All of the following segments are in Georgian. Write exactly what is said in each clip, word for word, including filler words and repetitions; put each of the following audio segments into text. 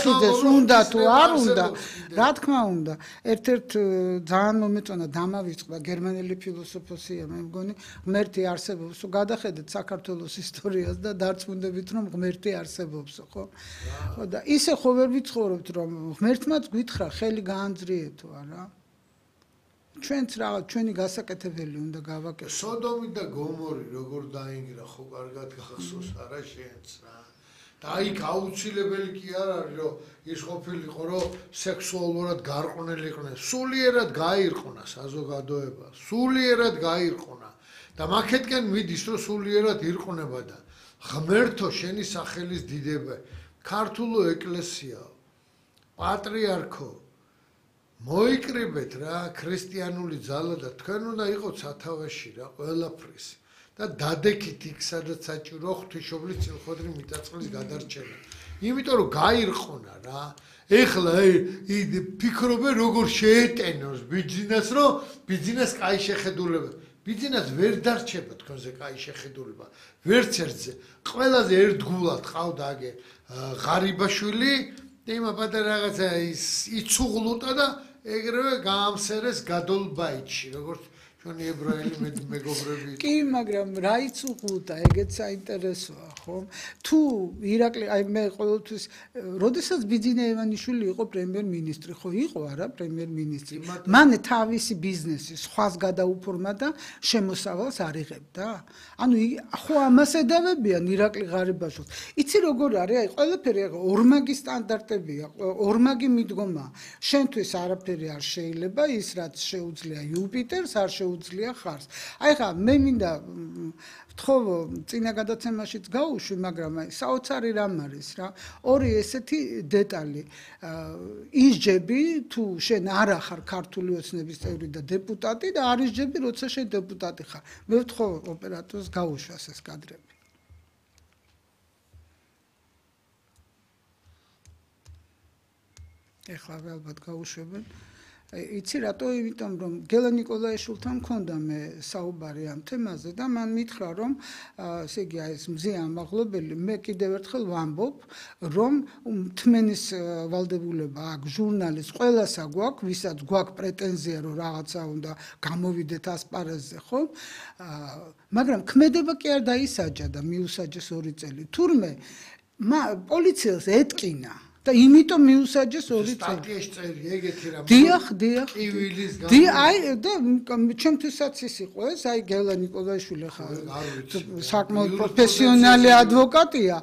ხალხიძეს უნდა თუ არ უნდა, რა თქმა უნდა. ერთ-ერთ ძალიან მომეწონა დამავიწყდა გერმანელი ფილოსოფოსია, მე მგონი, ღმერთი არსებობს. გადახედეთ საქართველოს ისტორიას და დარწმუნდებით, რომ ღმერთი არსებობს, ხო? და ისე ხო ვერ ვიცხოვრობთ, რომ ღმერთმაც გვითხრა, ხელი გაანძრიეთო, არა? ჩვენც რაღაც ჩვენი გასაკეთებელი უნდა გავაკეთოთ. სოდომი და გომორი როგორ დაინგრა, ხო კარგად გახსოვს არა შენც რა. და იქ აუცილებელი კი არ არის, რომ ის ყოფილიყო, რომ სექსუალურად გარყვნილი იყვნენ. სულიერად გაირყונה საზოგადოება, სულიერად გაირყונה. და მაქეთკენ მიდის, რომ სულიერად ირყნება და ღმერთო შენი სახელის დიდება, ქართულო ეკლესიაო, პატრიარქო მოიკრიბეთ რა ქრისტიანული ძალა და თქვენ უნდა იყოთ სათავეში რა ყველაფრის და დადექით იქ სადაც საჭირო ღვთისმშობლის წილხოდრი მიწაწყლის გადარჩენა. იმიტომ რომ გაირყונה რა. ეხლა ფიქრობენ როგორ შეეტენოს ბიძინას, რომ ბიძინას კაი შეხედულება. ბიძინას ვერ დარჩება თქვენზე კაი შეხედულება. ვერც ერთზე. ყველაზე ერთგულად ყავდა აგე ღარიბაშვილი და იმა პატარა რაღაცა ის იცუღლუტა და ეგრევე გაამსერეს გადოლბაიტში, როგორც ჩვენი ებრაელი მეგობრები. კი, მაგრამ რა იცუღლუტა, ეგეც საინტერესოა, ხო? თუ ირაკლი, აი მე ყოველთვის, როდესაც ბიძინა ივანიშვილი იყო პრემიერ-მინისტრი, ხო იყო არა პრემიერ-მინისტრი. მან თავისი ბიზნესი სხვას გადაუფორმა და შემოსავალს არ იღებდა. ანუ ხო ამას ედავებიან ირაკლი ღარიბაშვილს. იცი როგორ არის? აი ყველაფერი ორმაგი სტანდარტებია, ორმაგი მიდგომა. შენთვის არაფერი არ შეიძლება, ის რაც შეუძლია იუპიტერს, არ შეუძლია ხარს. აი ხა მე მინდა ვთხოვო წინა გადაცემაშიც გავუშვი, მაგრამ აი საოცარი რამ არის რა. ორი ესეთი დეტალი. ის ჯები თუ შენ არ ახარ ქართული ოცნების წევრი და დეპუტატი და არის ჯები როცა შენ დეპუტატი ხარ. მე ვთხოვო ოპერატორს გაუშვას ეს კადრები. ეხლა ალბათ გაუშვებენ. იცი რატო? იმიტომ რომ გელა ნიკოლაიშვილთან მქონდა მე საუბარი ამ თემაზე და მან მითხრა რომ ესე იგი ეს მზე ამაღლობელი მე კიდევ ერთხელ ვამბობ რომ მთმენის ვალდებულება აქვს ჟურნალის ყველასა გვაქვს ვისაც გვაქვს პრეტენზია რომ რაღაცა უნდა გამოვიდეთ ასპარეზზე ხო მაგრამ ქმედება კი არ დაისაჯა და მიუსაჯეს ორი წელი თურმე პოლიციელს ეტკინა და იმიტომ მიუსაჯეს ორი წელი. სტატიაში წერია ეგეთი რამ. დიახ, დიახ. კივილის გამო. დი აი და ჩემთვისაც ის იყო ეს, აი გელა ნიკოლაიშვილი ხა საკმაოდ პროფესიონალი ადვოკატია.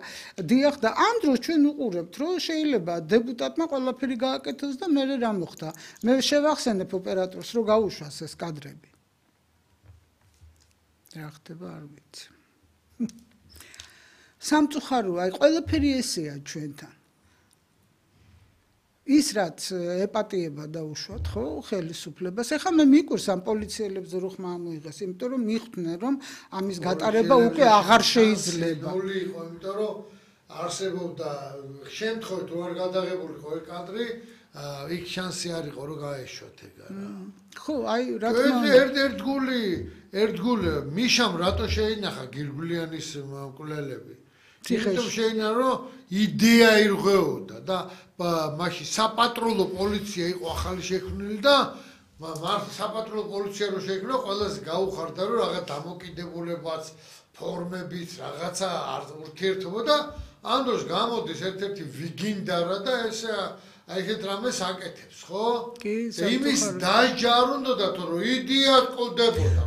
დიახ და ამ დროს ჩვენ უყურებთ, რომ შეიძლება დეპუტატმა ყველაფერი გააკეთოს და მე რა მოხდა. მე შევახსენებ ოპერატორს, რომ გაუშვას ეს კადრები. რა ხდება არ ვიცი. სამწუხაროა, აი ყველაფერი ესეა ჩვენთან. ის რაც ეპატიება დაუშვათ ხო ხელისუფლებას ეხლა მე მიკვირს ამ პოლიციელებს რო ხმა ამოიღეს იმიტომ რომ მიხვდნენ რომ ამის გატარება უკვე აღარ შეიძლება ნული იყო იმიტომ რომ არსებობდა შემთხვევით რო არ გადაღებულიყო ეს კადრი იქ შანსი არ იყო რომ გაეშვათ ეგ არა ხო აი რა თქმა უნდა ერთ ერთ გული ერთ გული მიშამ რატო შეინახა გირგვლიანის მკვლელები თვითონ შეიძლება რომ იდეა ირღვეოდა და მაშინ საპატრულო პოლიცია იყო ახალი შექმნილი და მართლა საპატრულო პოლიცია რო შექმნა ყველას გაუხარდა რომ რაღაც დამოკიდებულებაც ფორმებიც რაღაცა არ ურთიერთობა და ამ დროს გამოდის ერთ-ერთი ვიგინდარა და ეს აი ეს რამეს აკეთებს ხო იმის დაჟა არ უნდათ რომ იდეა ყოლდებოდა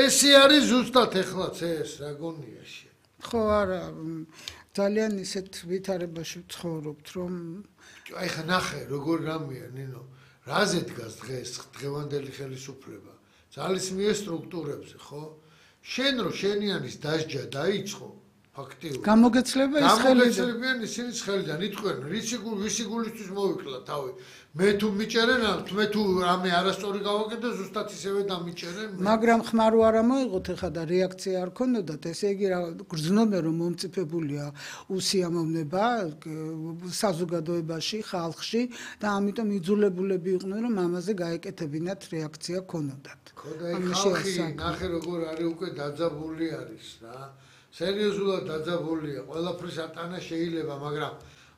ესე არის ზუსტად ეხლაც ეს რა გონია შე ხო არა ძალიან ისეთ ვითარებაში ვცხოვრობთ რომ აი ხა ნახე როგორ რამეა ნინო რაზე დგას დღეს დღევანდელი ხელისუფლება ძალისმიერ სტრუქტურებზე ხო შენ რო შენიანის დასჯა დაიწყო ფაქტიურად გამოგეცლება ის ხელიდან გამოგეცლებიან ისინი ხელიდან იტყვენ რისი გული ვისი გულისთვის მოვიკლა თავი მე თუ მიჭერენ მე თუ რამე არასწორი გავაკეთე ზუსტად ისევე დამიჭერენ მაგრამ ხმარო არ მოიღოთ ეხა და რეაქცია არ ქონდათ ესე იგი რა გრძნობენ რომ მომწიფებულია უსიამოვნება საზოგადოებაში ხალხში და ამიტომ იძულებულები იყვნენ რომ ამაზე გაეკეთებინათ რეაქცია ქონოდათ ხო და ხალხი ნახე როგორ არის უკვე დაძაბული არის რა სერიოზულად დაძაბულია, ყველაფრის ატანა შეიძლება, მაგრამ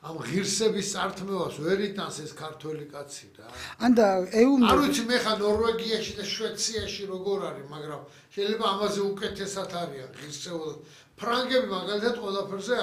ამ ღირსების წართმევას ვერ იტანს ეს ქართველი კაცი რა. ანდა ეუნ არ ვიცი მე ხა ნორვეგიაში და შვეიცარიაში როგორ არის, მაგრამ შეიძლება ამაზე უკეთესად არიან ღირსეულად. ფრანგები მაგალითად ყველაფერზე